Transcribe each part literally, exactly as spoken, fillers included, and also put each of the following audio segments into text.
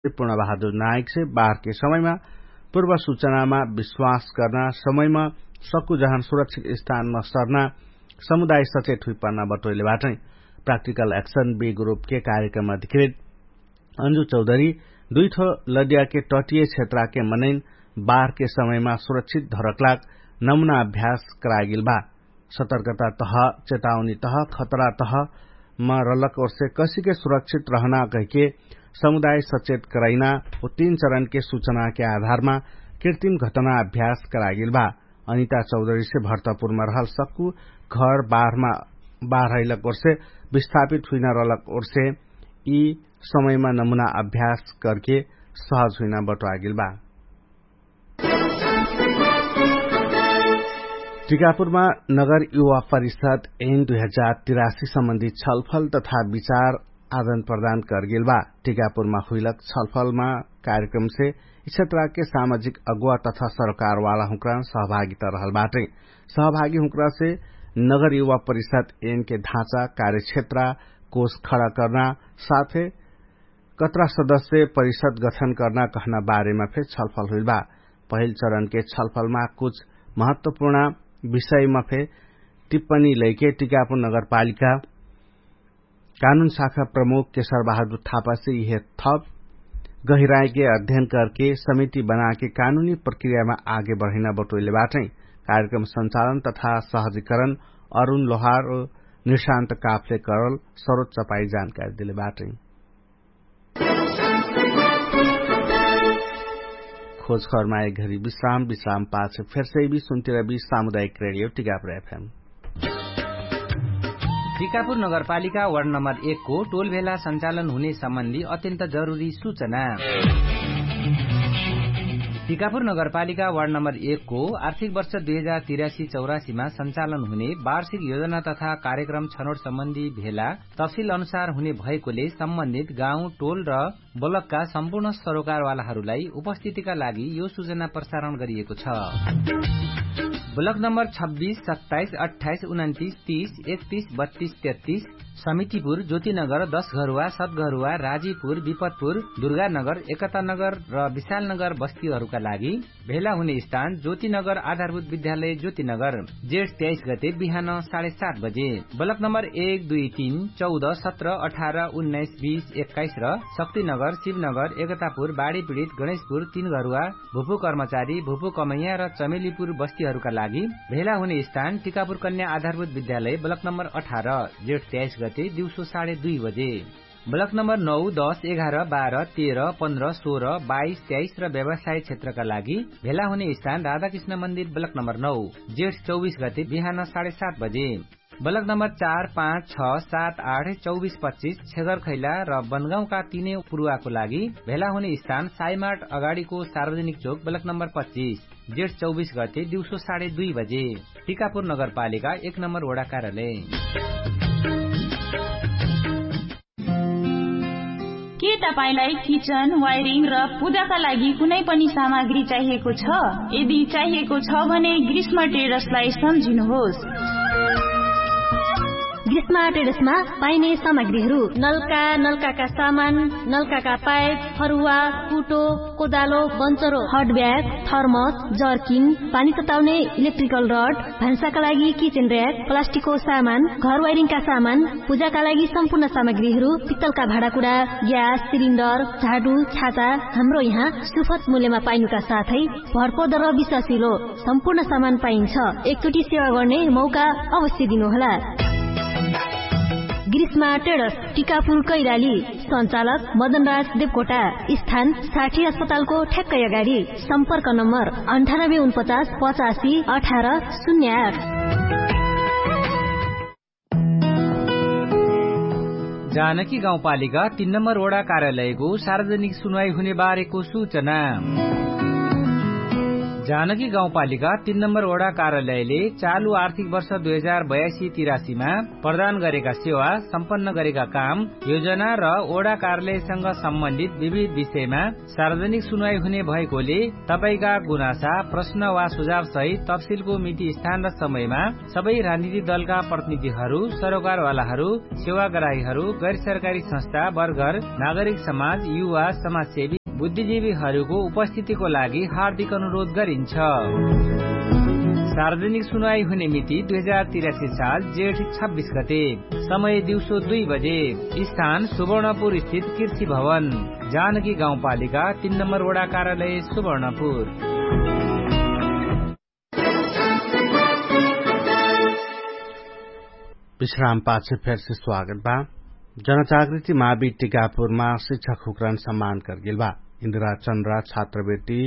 पूर्णबहादुर नायकसे बाहरके समयमा पूर्व सुचनामा विश्वास कर्ना समयमा सक्कु जहन सुरक्षित स्थानमा सर्ना समुदाय सचेत हुइपर्ना बटोइले बाटै। प्राक्टिकल एक्सन बी ग्रुपके कार्यक्रम अधिकृत अन्जु चौधरी दुइठो लडियाके टटिय क्षेत्राके मनैन बाहरके समयमा सुरक्षित धरकलाक नमुना अभ्यास करागेल बा। सतर्कता तह, चेतावनी तह, खतरा तह म रलक ओर्से कसिके सुरक्षित रहना कहिके समुदाय सचेत करैना उ तीन चरणके सुचनाके आधारमा कृतिम घटना अभ्यास करागेल बा। अनिता चौधरीसे भर्तपुरमा रहल सक्कु घर बाहरमा बाहरैलक ओर्से विस्थापित हुइना रलक ओर्से यि समयमा नमुना अभ्यास करके सहज हुइना बटोआगेल बा। टिकापुरमा नगर युवा परिषद एन दुई हजार तिरासी सम्बन्धी छलफल तथा विचार आदान प्रदान करगेल बा। टिकापुरमा हुइलक छलफलमा कार्यक्रमसे यि क्षेत्रके सामाजिक अगुवा तथा सरकारवाला हुँक्रा सहभागिता रहल बाटै। सहभागी हुँक्रासे नगर युवा परिषद एनके ढाँचा कार्यक्षेत्र कोष खडा कर्ना साथे कत्रा सदस्य परिषद गठन कर्ना कहना बारेमा फेर छलफल हुइल बा। पहिल चरणके छलफलमा कुछ महत्वपूर्ण विषयमा फेर टिप्पणी लैके टिकापुर नगरपालिका कानुन शाखा प्रमुख केशर बहादुर थापासे यिहे थप गहिराइके अध्ययन करके समिति बनाके कानुनी प्रक्रियामा आगे बढैना बटोइले बाटै। कार्यक्रम सञ्चालन तथा सहजीकरण अरुण लोहार निशान्त काफले करल सरोज चपाई जानकारी देले बाटै। खोजखबरमा एक घरी विश्राम विश्राम पाछ फेरसै बी सुन्तिर बी सामुदायिक रेडियो टिकापुर एफएम। टिकापुर नगरपालिका वार्ड नम्बर एक को टोल भेला सञ्चालन हुने सम्बन्धी अत्यन्त जरुरी सूचना। टिकापुर नगरपालिका वार्ड नम्बर एक को आर्थिक वर्ष दुई हजार तिरासी चौरासीमा सञ्चालन हुने वार्षिक योजना तथा कार्यक्रम छनोट सम्बन्धी भेला तफसिल अनुसार हुने भएकोले सम्बन्धित गाउँ टोल र ब्लकका सम्पूर्ण सरोकारवालाहरूलाई उपस्थितिका लागि यो सूचना प्रसारण गरिएको छ। ब्लक नम्बर छब्बिस सत्ताइस अट्ठाइस उन्तिस तिस एकतिस बत्तिस तेत्तिस समितिपुर ज्योतिनगर दशघरुवा सतघरुवा राजीपुर विपतपुर दुर्गानगर एकतानगर र विशालनगर बस्तीहरूका लागि भेला हुने स्थान ज्योतिनगर आधारभूत विद्यालय ज्योतिनगर जेठ तेइस गते बिहान साढे सात बजे। ब्लक नम्बर एक दुई तीन चौध सत्र अठार उन्नाइस बिस एक्काइस र शक्तिनगर शिवनगर एकतापुर बाढीपीडित गणेशपुर तीन घरुवा भुपु कर्मचारी भुपु कमैया र चमेलीपुर बस्तीहरूका लागि भेला हुने स्थान टिकापुर कन्या आधारभूत विद्यालय ब्लक नम्बर अठार जेठ तेइस गते दिउँसो साढे दुई बजे। ब्लक नम्बर नौ दस एघार बाह्र तेह्र पन्ध्र सोह्र बाइस तेइस र व्यवसाय क्षेत्रका लागि भेला हुने स्थान राधाकृष्ण मन्दिर ब्लक नम्बर नौ जेठ चौबिस गते बिहान साढे सात बजे। ब्लक नम्बर चार पाँच छ सात आठ चौबिस पच्चिस छेगर खैला र बनगाउँका तिनै पुरुवाको लागि भेला हुने स्थान साइमार्ट अगाडिको सार्वजनिक चोक ब्लक नम्बर पच्चिस जेठ चौबिस गते दिउँसो साढे दुई बजे। टिकापुर नगरपालिका एक नम्बर वडा कार्यालय। के तपाईंलाई किचन वायरिङ र पूजाका लागि कुनै पनि सामग्री चाहिएको छ? यदि चाहिएको छ भने ग्रीष्म ट्रेडर्सलाई सम्झिनुहोस्। ग्रीष्म ट्रेडर्समा पाइने सामग्रीहरू नलका नलकाका सामान, नलकाका पाइप, फरुवा, कुटो, कोदालो, बन्चरो, हटब्याग, थर्मस, जर्किन, पानी तताउने इलेक्ट्रिकल रड, भान्साका लागि किचेन र्याक, प्लास्टिकको सामान, घर वाइरिङका सामान, पूजाका लागि सम्पूर्ण सामग्रीहरू, पित्तलका भाँडाकुडा, ग्यास सिलिन्डर, झाडु, छाता, हाम्रो यहाँ सुफत मूल्यमा पाइनुका साथै भरपर्दो र विश्वासिलो सम्पूर्ण सामान पाइन्छ। एकचोटि सेवा गर्ने मौका अवश्य दिनुहोला। ग्रीष्मा ट्रेडर्स, टिकापुर कैलाली। सञ्चालक मदनराज देवकोटा। स्थान साठी अस्पतालको ठ्याक्कै अगाडि। सम्पर्क नम्बर अन्ठानब्बे उनपचास पचासी अठार शून्य आठ। जानकी गाउँपालिका तीन नम्बर वडा कार्यालयको सार्वजनिक सुनवाई हुने बारेको सूचना। जानकी गाउँपालिका तीन नम्बर ओडा कार्यालयले चालु आर्थिक वर्ष दुई हजार बयासी तिरासीमा प्रदान गरेका सेवा, सम्पन्न गरेका काम, योजना र ओडा कार्यालयसँग सम्बन्धित विविध विषयमा सार्वजनिक सुनवाई हुने भएकोले, तपाईंका गुनासा, प्रश्न वा सुझाव सहित तफसिलको मिति स्थान र समयमा सबै राजनीतिक दलका प्रतिनिधिहरू, सरोकारवालाहरू, सेवाग्राहीहरू, गैरसरकारी संस्था, वर्गर, नागरिक समाज, युवा, समाजसेवी, बुद्धिजीवीहरूको उपस्थितिको लागि हार्दिक अनुरोध गरिन्छ। सार्वजनिक सुनवाई हुने मिति दुई हजार तिरासी साल जेठ छब्बिस गते, समय दिउँसो दुई बजे, स्थान सुवर्णपुर स्थित कृषि भवन, जानकी गाउँपालिका तीन नम्बर वडा कार्यालय सुवर्णपुर। विश्राम पाछे फेरसे स्वागत बा। जनजागृति मावी टिकापुरमा शिक्षा खुकरान सम्मान करगेल बा। इन्द्रा चन्द्रा छात्रवृत्ति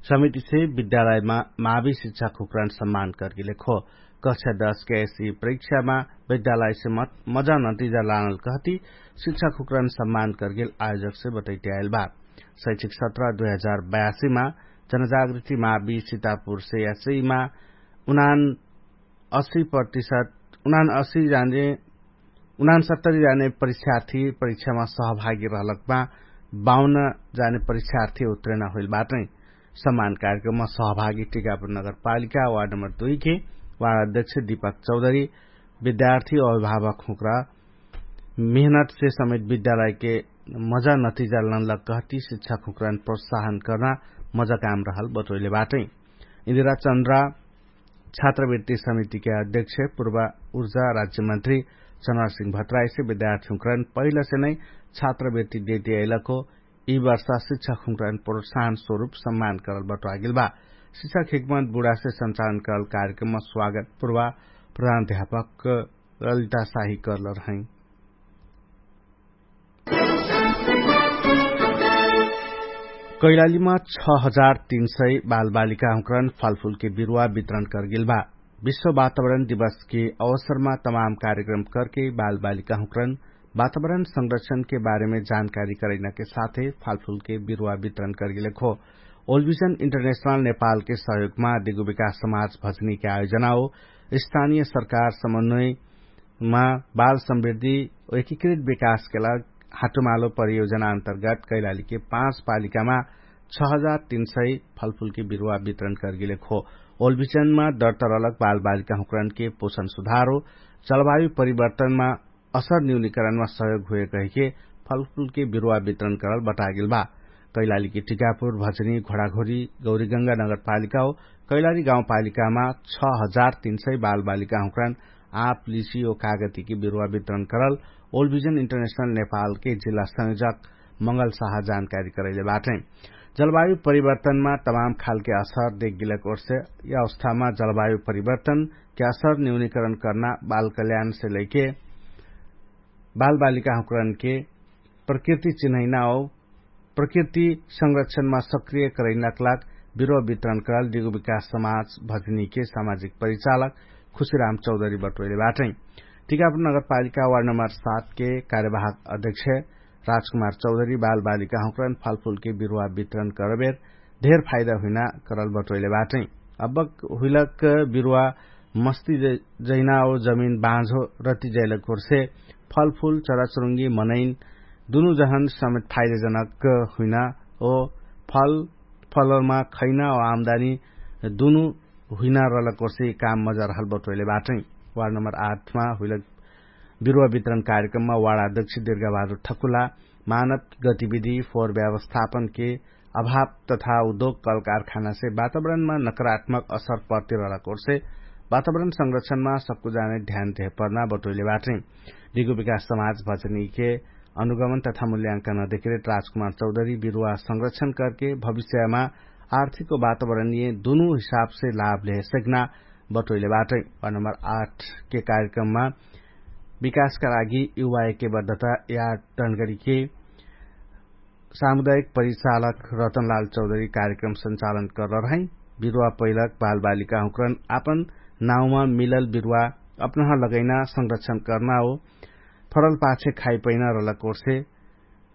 समितिसे विद्यालयमा मावी शिक्षा खुकरान सम्मान करगेल खो। कक्षा दस के एसी परीक्षामा विद्यालयसे मजा नतिजा लानल कहती शिक्षा खुकरान सम्मान करगेल आयोजकसे बटैत्याएल बा। शैक्षिक सत्र दुई हजार बयासीमा जनजागृति मावी सितापुरसे यासैमा उनान असी प्रतिशत उनान असी जाने उनान सत्तरी जाने परीक्षार्थी परीक्षामा सहभागी रहलकमा बाउन जाने परीक्षार्थी उत्रेना होइल बाटै। सम्मान कार्यक्रममा सहभागी टिकापुर नगरपालिका वार्ड नम्बर दुई के वार्ड अध्यक्ष दीपक चौधरी, विद्यार्थी अभिभावक हुँक्रा मेहनतसे समेत विद्यालयके मजा नतिजा लनलक कहती शिक्षा खुँक्रान प्रोत्साहन कर्ना मजा काम रहल बटोइले बाटै। इन्दिरा चन्द्रा छात्रवृत्ति समितिके अध्यक्ष पूर्व उर्जा राज्यमन्त्री चन्द्रा सिंह भट्टराईसे विद्यार्थी हुँक्रान पहिलसे नै छात्रवृत्ति देती अइलक हो। यी वर्षा शिक्षा खुँक्रान प्रोत्साहन स्वरूप सम्मान करल बटोआगेल बा। शिक्षा खेकमत बुढासे सञ्चालन करल कार्यक्रममा स्वागत पूर्व प्रधान अध्यापक ललिता साही करल रहै। कैलालीमा छ हजार तीन सय बालबालिका हुँकरन फलफुलके बिरुवा वितरण करगेल बा। विश्व वातावरण दिवसके अवसरमा तमाम कार्यक्रम करके बालबालिका हुँकरन वातावरण संरक्षणके बारेमे जानकारी करैनाके साथे फलफुलके बिरुवा वितरण करगेल खो। ओलभिजन इन्टरनेशनल नेपालके सहयोगमा दिगु विकास समाज भजनीके आयोजना हो। स्थानीय सरकार समन्वय मा बाल समृद्धि एकीकृत विकासके लाग हाटुमालो परियोजना अन्तर्गत कैलालीके पाँच पालिकामा छ हजार तीन सय फलफुलके बिरुवा वितरण करगेले खो। ओलभिजनमा दर्तरलक बालबालिका हुँकरनके पोषण सुधार हो। जलवायु परिवर्तनमा असर न्यूनीकरणमा सहयोग हुए कहिके फलफुलके बिरुवा वितरण करल बटागेल बा। कैलालीके टिकापुर भजनी घोडाघोरी गौरीगंगा नगरपालिका हो। कैलाली गाउँपालिकामा छ हजार तीन सय बालबालिका हुँकरन आप लिसी ओ कागतीके बिरुवा वितरण करल ओलभिजन इन्टरनेशनल नेपालके जिल्ला संयोजक मंगल साहा जानकारी करैले बाटै। जलवायु परिवर्तनमा तमाम खालके असर देखगिलक ओर्से यी अवस्थामा जलवायु परिवर्तनके असर न्यूनीकरण कर्ना बाल कल्याणसे लैके बालबालिका हुँकरनके प्रकृति चिन्हैना हो। प्रकृति संरक्षणमा सक्रिय करैनाक लाग बिरुवा वितरण कराल दिगु विकास समाज भजनीके सामाजिक परिचालक खुशीराम चौधरी बटोइले बाटै। टिकापुर नगरपालिका वार्ड नम्बर सातके कार्यवाहक अध्यक्ष राजकुमार चौधरी बालबालिका हुँकरन फलफुलके बिरुवा वितरण करबेर धेर फाइदा हुइना करल बटोइले बाटै। अब्बक हुइलक बिरुवा मस्ती जैना ओ जमिन बाँझो रति जैलक ओर्से फलफुल चराचुरुङ्गी मनैन दुनु जहन समेत फाइदाजनक हुइना ओ फल फलमा खैना ओ आमदानी दुनु हुइना रहलक ओर्से काम मजा रहल बटोइले बाटै। वार्ड नम्बर आठमा हुइलक बिरुवा वितरण कार्यक्रममा वार्ड अध्यक्ष दिर्गाबहादुर ठकुला मानव गतिविधि फोहोर व्यवस्थापनके अभाव तथा उद्योग कलकारखानासे वातावरणमा नकारात्मक असर पर्तिरहलक ओर्से वातावरण संरक्षणमा सक्कु जाने ध्यान देहपर्ना बटोइले बाटै। दिगु विकास समाज भजनीके अनुगमन तथा मूल्यांकन अधिकृत राजकुमार चौधरी बिरुवा संरक्षण करके भविष्यमा आर्थिक वातावरणीय दुनु हिसाबसे लाभ लेहे सकना बटोइले बाटै। वार्ड नम्बर आठके कार्यक्रममा विकासका लागि युवा एकेबद्धता या टनगरीके सामुदायिक परिचालक रतनलाल चौधरी कार्यक्रम सञ्चालन करल रहै। बिरुवा पैलक बालबालिका हुँकरन आपन नाउँमा मिलल बिरुवा अपनह लगैना संरक्षण कर्ना हो। फरल पाछे खाइ पैना रहलक ओर्से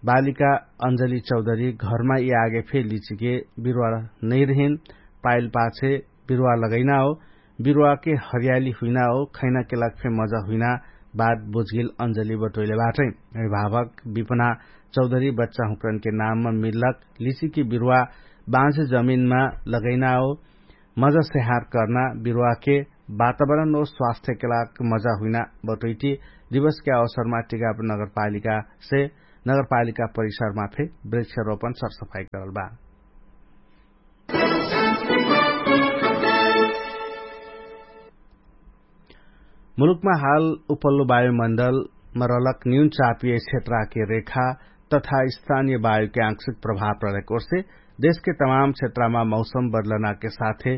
बालिका अञ्जली चौधरी घरमा यि आगे फे लिचिके बिरुवा नैरहिन पाइल पाछे बिरुवा लगैना हो, बिरुवाके हरियाली हुइना हो, खैनाके लाग फे मजा हुइना। बात बुझगिल अञ्जली बटोइले बाटै। अभिभावक विपना चौधरी बच्चा हुँकरनके नाममा मिल्लक लिचिके बिरुवा बाँझ जमिनमा लगैना हो, मजा सेहार कर्ना बिरुवाके वातावरण हो स्वास्थ्यके लाग मजा हुइना बटोइटी दिवसके अवसरमा टिकापुर नगरपालिकासे नगरपालिका परिसरमा फे वृक्षारोपण सरसफाई करल बा। मुलुकमा हाल उपल्लो वायुमण्डलमा रलक न्यून चापिय क्षेत्राके रेखा तथा स्थानीय वायुके आंशिक प्रभाव रहलेक ओर्से देशके तमाम क्षेत्रामा मौसम बदलनाके साथे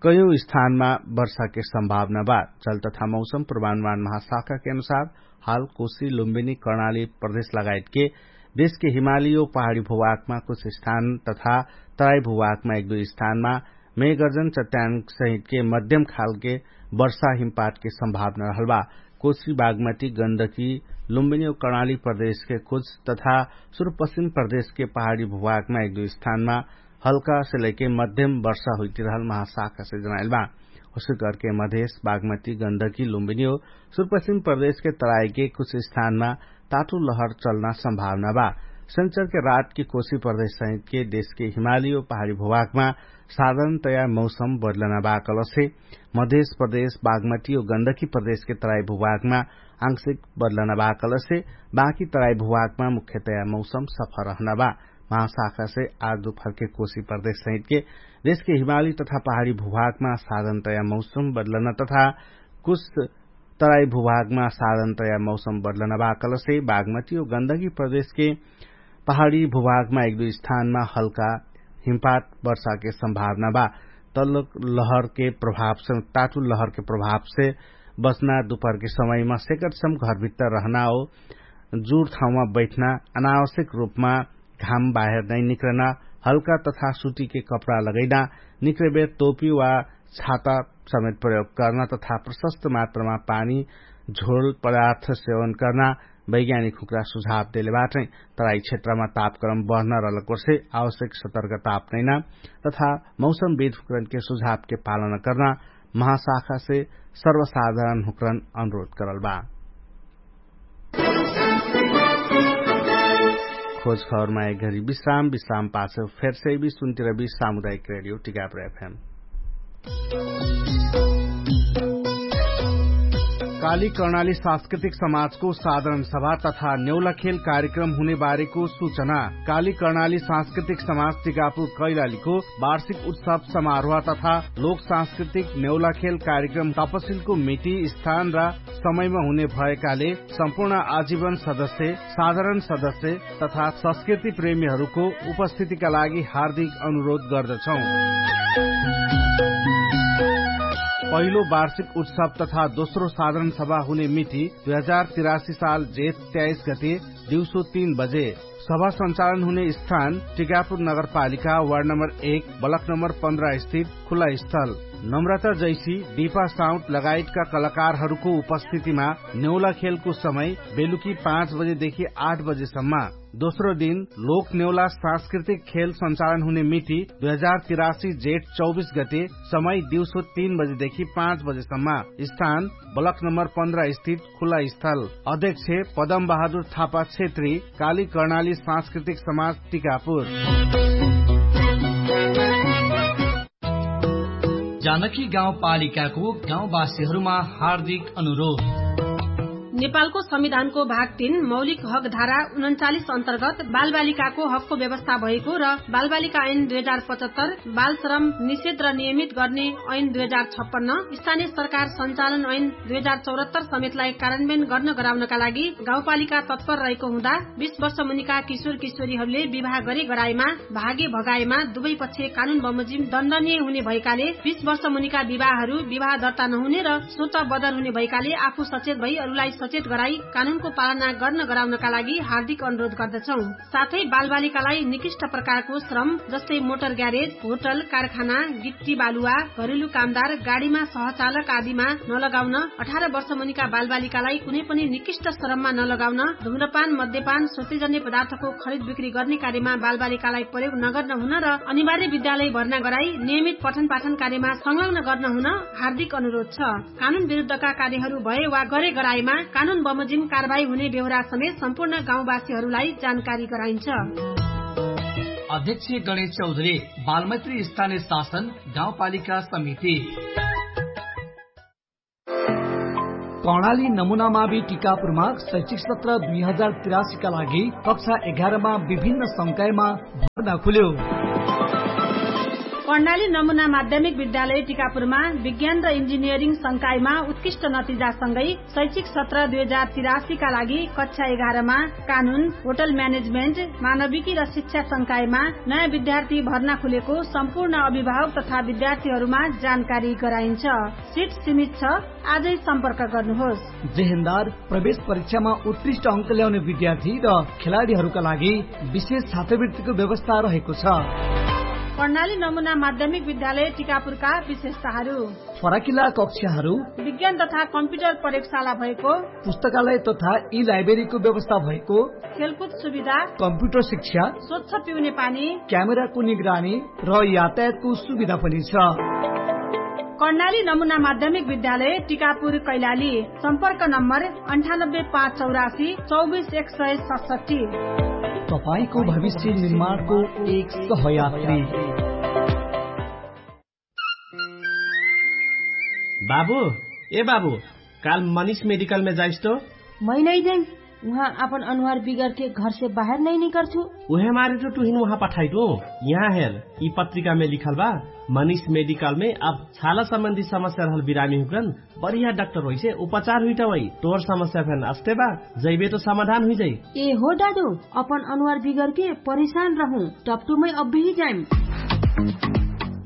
कयौं स्थानमा वर्षाके सम्भावना बा। जल तथा मौसम प्रमाणमान महाशाखाके अनुसार हाल कोशी लुम्बिनी कर्णाली प्रदेश लगायतके देशके हिमाली ओ पहाडी भूभागमा कुछ स्थान तथा तराई भूभागमा एक दुई स्थानमा मेघर्जन चट्यान सहितके मध्यम खालके वर्षा हिमपातके सम्भावना रहल बा। कोशी बागमती गन्दकी लुम्बिनी ओ कर्णाली प्रदेशके कुछ तथा सुरुपश्चिम प्रदेशके पहाडी भूभागमा एक दुई स्थानमा हल्का से लैके मध्यम वर्षा हुइतिरहल महाशाखा से जनाइल बा। उसके करके मधेश बागमती गन्दकी लुम्बिनी हो सुरुपश्चिम प्रदेशके तराईके कुछ स्थानमा ताटु लहर चल्ना सम्भावना बा। सेन्चरके रातके कोशी प्रदेश सहितके देशके हिमाली हो पहाडी भूभागमा साधारणतया मौसम बदलना बा कलसे मधेश प्रदेश बागमती हो गन्दकी प्रदेशके तराई भूभागमा आंशिक बदलना बा कलसे बाकी तराई भूभागमा मुख्यतया मौसम सफा रहना बा। महाशाखासे आज दुपहरके कोशी प्रदेश सहितके देशके हिमाली तथा पहाडी भूभागमा साधनतया मौसम बदलना तथा कुछ तराई भूभागमा साधनतया मौसम बदलना बा कलसे बागमती हो गन्दगी प्रदेशके पहाडी भूभागमा एक दुई स्थानमा हल्का हिमपात वर्षाके सम्भावना बा। तल्लो लहरके प्रभावसे ताटु लहरके प्रभावसे बच्ना दुपहरके समयमा सेकटसम घरभित्तर रहना हो जुर ठाउँमा बैठना अनावश्यक रूपमा घाम बाहेर नै निक्रना हल्का तथा सुटीके कपडा लगैना निक्रेबेर तोपी वा छाता समेत प्रयोग कर्ना तथा प्रशस्त मात्रामा पानी झोल पदार्थ सेवन कर्ना वैज्ञानिक हुक्रा सुझाव देले बाटै। तराई क्षेत्रमा तापक्रम बढ्न रहलक वर्षे आवश्यक सतर्क तापनैना तथा मौसम विध हुक्रनके सुझावके पालन कर्ना महाशाखासे सर्वसाधारण हुक्रन अनुरोध करल बा। खोज खबरमा एक घरी विश्राम विश्राम पाछ फेरसे भी सुन्तिर भी सामुदायिक रेडियो टिकापुर एफएम। काली कर्णाली सांस्कृतिक समाजको साधारण सभा तथा नेउलाखेल कार्यक्रम हुनेबारेको सूचना। काली कर्णाली सांस्कृतिक समाज टिकापुर कैलालीको वार्षिक उत्सव समारोह तथा लोक सांस्कृतिक नेउलाखेल कार्यक्रम तपसिलको मिटी स्थान र समयमा हुने भएकाले सम्पूर्ण आजीवन सदस्य साधारण सदस्य तथा संस्कृति प्रेमीहरूको उपस्थितिका लागि हार्दिक अनुरोध गर्दछौँ। पहिलो वार्षिक उत्सव तथा दोस्रो साधारण सभा हुने मिति दुई हजार तिरासी साल जेठ त्याइस गते दिउँसो तीन बजे। सभा सञ्चालन हुने स्थान टिकापुर नगरपालिका वार्ड नम्बर एक ब्लक नम्बर पन्ध्र स्थित खुला स्थल। नम्रता जैसी डिपा साउट लगायतका कलाकारहरूको उपस्थितिमा नेउला खेलको समय बेलुकी पाँच बजेदेखि आठ बजेसम्म। दोस्रो दिन लोक नेउला सांस्कृतिक खेल सञ्चालन हुने मिति दुई हजार तिरासी जेठ चौबिस गते समय दिउँसो तीन बजेदेखि पाँच बजेसम्म। स्थान ब्लक नम्बर पन्ध्र स्थित खुला स्थल। अध्यक्ष पदम बहादुर थापा क्षेत्री काली कर्णाली सांस्कृतिक समाज टिकापुर। जानकी गाउँपालिकाको गाउँवासीहरूमा हार्दिक अनुरोध। नेपालको संविधानको भाग तीन मौलिक हकधारा उनन्चालिस अन्तर्गत बालबालिकाको हकको व्यवस्था भएको र बालबालिका ऐन दुई हजार पचहत्तर बालश्रम निषेध र नियमित गर्ने ऐन दुई हजार छप्पन्न स्थानीय सरकार सञ्चालन ऐन दुई हजार चौहत्तर समेतलाई कार्यान्वयन गर्न गराउनका लागि गाउँपालिका तत्पर रहेको हुँदा बिस वर्ष मुनिका किशोर किशोरीहरूले विवाह गरे गराएमा भागे भगाएमा दुवै पक्ष कानुन बमोजिम दण्डनीय हुने भएकाले बिस वर्ष मुनिका विवाहहरू विवाह दर्ता नहुने र सोच बदर हुने भएकाले आफू सचेत भई अरूलाई चेट गराई कानुनको पालना गर्न गराउनका लागि हार्दिक अनुरोध गर्दछौं। साथै बालबालिकालाई निकृष्ट प्रकारको श्रम जस्तै मोटर ग्यारेज, होटल, कारखाना, गिट्टी बालुवा, घरेलु कामदार, गाडीमा सहचालक आदिमा नलगाउन, अठार वर्षमुनिका बालबालिकालाई कुनै पनि निकृष्ट श्रममा नलगाउन, धुम्रपान, मद्यपान, सोचेजन्य पदार्थको खरिद बिक्री गर्ने कार्यमा बालबालिकालाई प्रयोग नगर्न हुन र अनिवार्य विद्यालय भर्ना गराई नियमित पठनपाठन कार्यमा संलग्न गर्न हुन हार्दिक अनुरोध छ। कानुन विरुद्धका कार्यहरू भए वा गरे गराएमा कानुन बमोजिम कारवाही हुने बेहोरा समेत सम्पूर्ण गाउँवासीहरूलाई जानकारी गराइन्छ। अध्यक्ष गणेश चौधरी, बालमैत्री स्थानीय शासन गाउँपालिका समिति। कर्णाली नमुनामावि टिकापुरमा शैक्षिक सत्र दुई हजार तिरासीका लागि कक्षा एघारमा विभिन्न संकायमा भर्ना खुल्यो। कर्णाली नमुना माध्यमिक विद्यालय टिकापुरमा विज्ञान र इन्जिनियरिङ संकायमा उत्कृष्ट नतिजासँगै शैक्षिक सत्र दुई हजार तिरासीका लागि कक्षा एघारमा कानुन, होटल म्यानेजमेन्ट, मानविकी र शिक्षा संकायमा नयाँ विद्यार्थी भर्ना खुलेको सम्पूर्ण अभिभावक तथा विद्यार्थीहरूमा जानकारी गराइन्छ। सिट सीमित छ। आजै सम्पर्क गर्नुहोस्। जेहेन्दार प्रवेश परीक्षामा उत्कृष्ट अङ्क ल्याउने विद्यार्थी र खेलाडीहरूका लागि विशेष छात्रवृत्तिको व्यवस्था रहेको छ। कर्णाली नमुना माध्यमिक विद्यालय टिकापुरका विशेषताहरू। फराकिला कक्षाहरू। विज्ञान तथा कम्प्युटर प्रयोगशाला भएको। पुस्तकालय तथा ई लाइब्रेरीको व्यवस्था भएको। खेलकुद सुविधा। कम्प्युटर शिक्षा। स्वच्छ पिउने पानी। क्यामेराको निगरानी र यातायातको सुविधा पनि छ। कर्णाली नमुना माध्यमिक विद्यालय टिकापुर कैलाली। सम्पर्क नम्बर अन्ठानब्बे पाँच चौरासी चौबिस एक सय सतसट्ठी। तपाईंको भविष्य निर्माणको एक सहयात्री। बाबु, ए बाबु, काल मनिष मेडिकलमे जाइस तो? मै नै जाइम। उहाँ आपन अनुहार बिगरके घरसे बाहेर नै निकर्छु। उहे मारे तो टुहिन उहाँ पठाइटु। यहाँ हेर, यि पत्रिकामे लिखल बा, मनिष मेडिकलमे अब छाला सम्बन्धी समस्या रहल बिरामी हुकन बढिया डाक्टर होइसे उपचार हुइटवै। तोर समस्या फेन अस्ते बा, जैबे तो समाधान हुइजै। ए हो दादु, अपन अनुहार बिगरके परिशान रहु, टप्टुमै अब्बिही जाइम।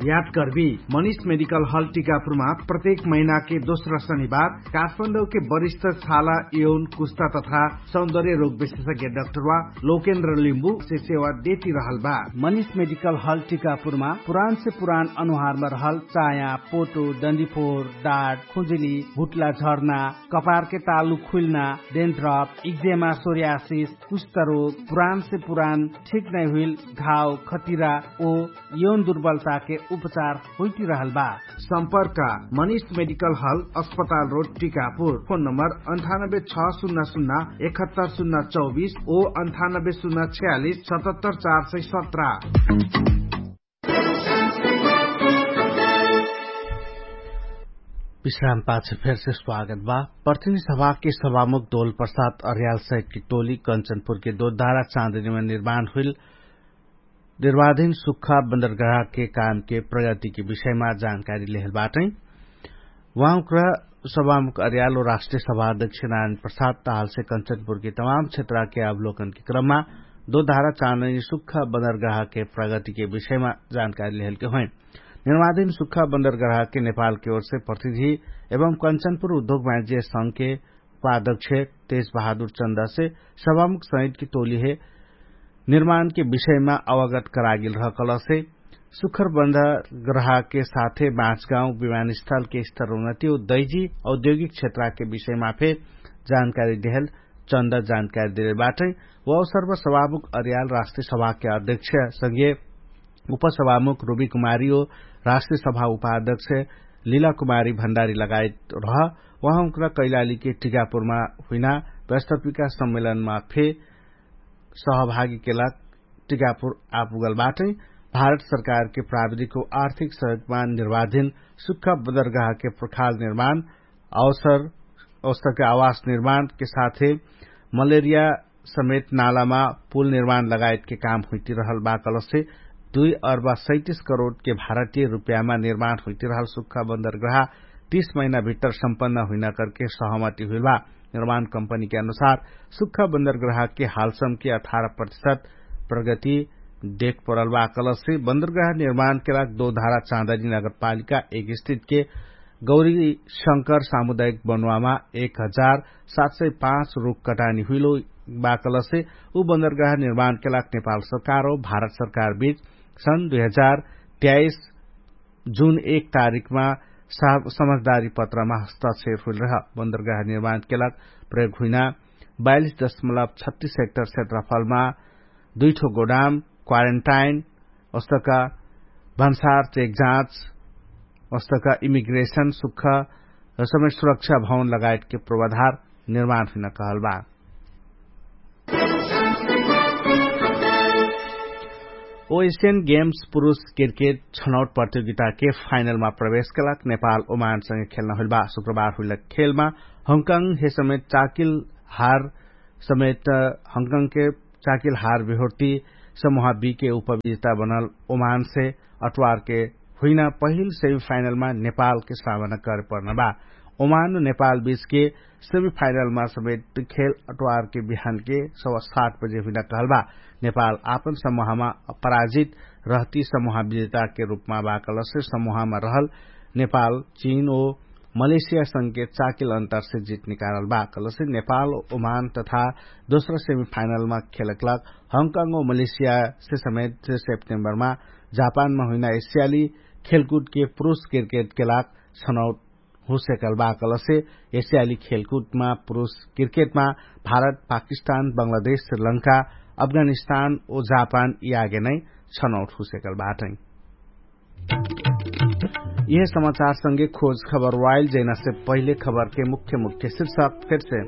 याद गर्बी, मनिष मेडिकल हल टिकापुरमा प्रत्येक महिनाके दोस्रा शनिबार काठमाडौके वरिष्ठ छाला, यौन, कुस्ता तथा सौन्दर्य रोग विशेषज्ञ डाक्टरवा लोकेन्द्र लिम्बु से सेवा देती रहल बा। मनिष मेडिकल हल टिकापुरमा पुरान से पुरान अनुहारमा रहल चाया, पोटो, डन्डीफोर, डाट, खुजुली, भुट्ला झर्ना, कपारके तालु खुल्ना, डेन्ड्रप, इक्जेमा, सोरियासिस, कुष्ठरोग, पुरान से पुरान ठिक नै हुइल घाव, खतिरा ओ यौन दुर्बलताके उपचार होइती रहल बा। सम्पर्क मनिष मेडिकल हल, अस्पताल रोड, टिकापुर। फोन नम्बर अन्ठानब्बे छ सुन्ना सुन्ना एकहत्तर सुन्ना चौबिस ओ अन्ठानब्बे सुन्ना छयालिस सतहत्तर चार सय सत्र। विश्राम पाछ फेरसे स्वागत बा। प्रतिनिधि सभाके सभामुख दोल प्रसाद अर्याल सहितके टोली कञ्चनपुरके दोधारा चाँदनीमा निर्माण हुइल निर्माणधिन सुख्खा बन्दरगाहके कामके प्रगतिके विषयमा जानकारी लेहल बाटै। उहाँ उक्रा सभामुख अर्याल ओ राष्ट्रिय सभा अध्यक्ष नारायण प्रसाद तालसे कञ्चनपुरके तमाम क्षेत्रके अवलोकनके क्रममा दोधारा चाँदनी सुख्खा बन्दरगाहके प्रगतिके विषयमा जानकारी लेहलके होइँ। निर्माणधिन सुख्खा बन्दरगाहके नेपालके ओरसे प्रतिनिधि एवं कञ्चनपुर उद्योग वाणिज्य संघके उपाध्यक्ष तेज बहादुर चन्दासे सभामुख सहितके टोलीहे निर्माणके विषयमा अवगत करागेल रहकलसे सुखर बन्दरगाहके साथे बाँचगाउँ विमानस्थलके स्तरोन्नति ओ दैजी औद्योगिक क्षेत्रके विषयमा फे जानकारी देहल चन्दा जानकारी देहल बाटै। व अवसरमा सभामुख अर्याल राष्ट्रिय सभाके अध्यक्ष संगे उपसभामुख रुबी कुमारी ओ राष्ट्रिय सभा उपाध्यक्ष लिला कुमारी भण्डारी लगायत रह। उहाँ उक्रा कैलालीके टिकापुरमा हुइना व्यस्तपिका सम्मेलनमा फे सहभागीके लाग टिकापुर आपुगल बाटै। भारत सरकारके प्राविधिक ओ आर्थिक सहयोगमा निर्वाधिन सुख्खा बन्दरगाहके प्रखाल निर्माण अवसर अवसरके आवास निर्माणके साथे मलेरिया समेत नालामा पुल निर्माण लगायतके काम हुइतिरहल बा कलसे दुई अर्बा सैतिस करोडके भारतीय रुपयामा निर्माण हुइतिरहल सुख्खा बन्दरगाह तीस महिना भित्तर सम्पन्न हुइना करके सहमति हुइल बा। निर्माण कम्पनीके अनुसार सुख्खा बन्दरगाहके हालसमके अठार प्रतिशत प्रगति देख परल बा कलसे बन्दरगाह निर्माणके लाग दोधारा चाँदनी नगरपालिका एक स्थितके गौरी शंकर सामुदायिक बनुवामा एक हजार सात सय पाँच रुख कटानी हुइलो बाकलसे उ बन्दरगाह निर्माणके लाग नेपाल सरकार हो भारत सरकार बीच सन् दुई हजार त्याइस जुन एक तारिकमा समझदारी पत्रमा हस्ताक्षेर हुइल रह। बन्दरगाह निर्माणके लाग प्रयोग हुइना बयालिस दशमलब छत्तीस हेक्टर क्षेत्रफलमा दुइठो गोडाम क्वारेन्टाइन ओस्तका भन्सार चेक जाँच ओस्तका इमिग्रेशन सुख र समय सुरक्षा भवन लगायतके पूर्वाधार निर्माण हुइना कहल बा। ओ एसियन गेम्स पुरुष क्रिकेट छनौट प्रतियोगिताके फाइनलमा प्रवेशके लाग नेपाल ओमानसँगे खेल्न हुइल बा। शुक्रबार हुइल खेलमा हङकङ हे समेत चाकिल हार समेत हङकङके चाकिल हार बिहोर्ती समूह बीके उपविजेता बनल ओमानसे अट्वारके हुइना पहिल सेमिफाइनलमा नेपालके सामना करे पर्न बा। ओमान नेपाल बीचके सेमिफाइनलमा समेत खेल अट्वारके बिहानके सवा सात बजे हुइना कहल बा। नेपाल आपन समूहमा अपराजित रहती समूह विजेताके रूपमा बा कलसे समूहमा रहल नेपाल चीन ओ मलेसियासँगके चाकिल अन्तरसे जित निकारल बा कलसे नेपाल ओमान तथा दोस्रो सेमिफाइनलमा खेलकलाग हङकङ ओ मलेसियासे समेत सेप्टेम्बरमा जापानमा हुइना एसियाली खेलकुदके पुरुष क्रिकेटके लाग छनौट हुसेकल बा कलसे एसियाली खेलकुदमा पुरुष क्रिकेटमा भारत पाकिस्तान बङ्गलादेश श्रीलङ्का अफगानिस्तान ओ जापान यागे नै छनौट हुसेकल बाटै। यह समाचारसँगे खोज खबर वाइल जैनासे पहिले खबरके मुख्य मुख्य शिर्षक फेरसे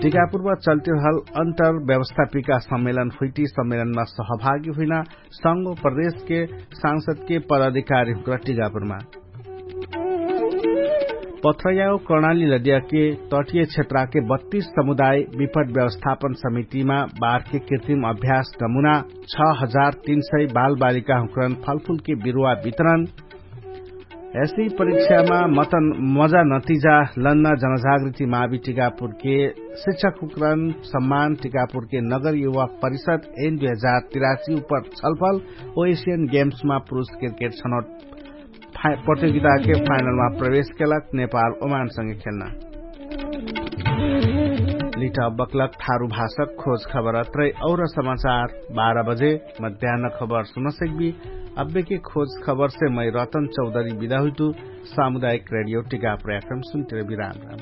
टिकापुरमा चल्तिरहल अन्तर व्यवस्थापिका सम्मेलन हुइटी सम्मेलनमा सहभागी हुइना संगो प्रदेशके सांसदके पदाधिकारी हुक्रा टिकापुरमा पथ्रयाउ कर्णाली लदियाके तटिय क्षेत्राके बत्तीस समुदाय विपट व्यवस्थापन समितिमा बारके कृत्रिम अभ्यास नमुना छ हजार तीन सय बालबालिका हुक्रन फलफुलके बिरुवा वितरण। यसी परीक्षामा मतन मजा नतिजा लन्ना जनजागृति मावि टिकापुरके शिक्षक हुक्रन सम्मान टिकापुरके नगर युवा परिषद एन दुई हजार तिरासी उपर छलफल ओ एसियन गेम्समा पुरुष क्रिकेट छनौट प्रतियोगिताके फाइनलमा प्रवेश केलक नेपाल ओमानसँगे खेल्न। लिट बक्लक थारु भाषक खोज खबर अत्रै और समाचार बाह्र बजे मध्यान्न खबर सुनसक्बी। अब्बेके खोज खबरसे मै रतन चौधरी बिदा हुइतु। सामुदायिक रेडियो टिकापुर एफएम सुन्तिर बिराम राम।